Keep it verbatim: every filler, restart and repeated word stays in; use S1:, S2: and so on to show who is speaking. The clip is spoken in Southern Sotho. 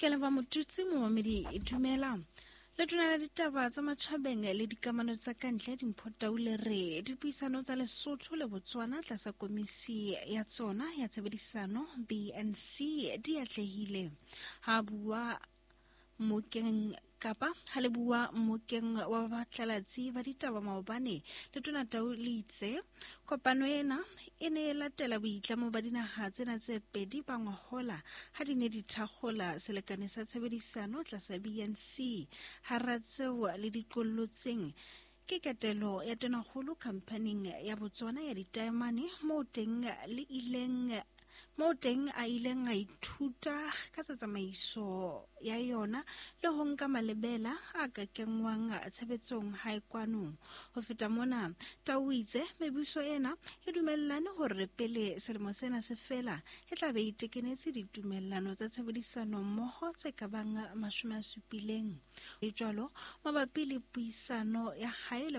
S1: Ke leboha Motutsi momamedi dumela. Letona la ditaba tsa matjhabeng le dikamano tsa kantle Dimpho Tau le re dipuisano tsa Lesotho le Botswana tlasa komisi ya tsona ya tshebedisano B N C di atlehile. Ha bua mokeng kapa ha le bua mokeng wa batlalatsi ba ditaba maobane, Letona Tau le itse kopano ena e ne e latela boitlamo ba dinaha tsena tse pedi ba ngwahola ha di ne di thakgola selekane sa tshebedisano tlasa B N C. Hara tseo le diqollotseng ke ketelo ya tonakgolo khamphaning ya Botswana ya ditaemane moo teng le ileng moo teng a ileng a ithuta ka tsa tsamaiso ya yona le ho nka malebela a ka kenngwang tshebetsong hae kwano. Ho feta mona, Tau o itse mebuso ena e dumellane hore pele selemo sena se fela e tla be e tekenetse ditumellano tsa tshebedisano mmoho tse ka bang mashome a supileng. E jwalo mabapi le puisano ya hae le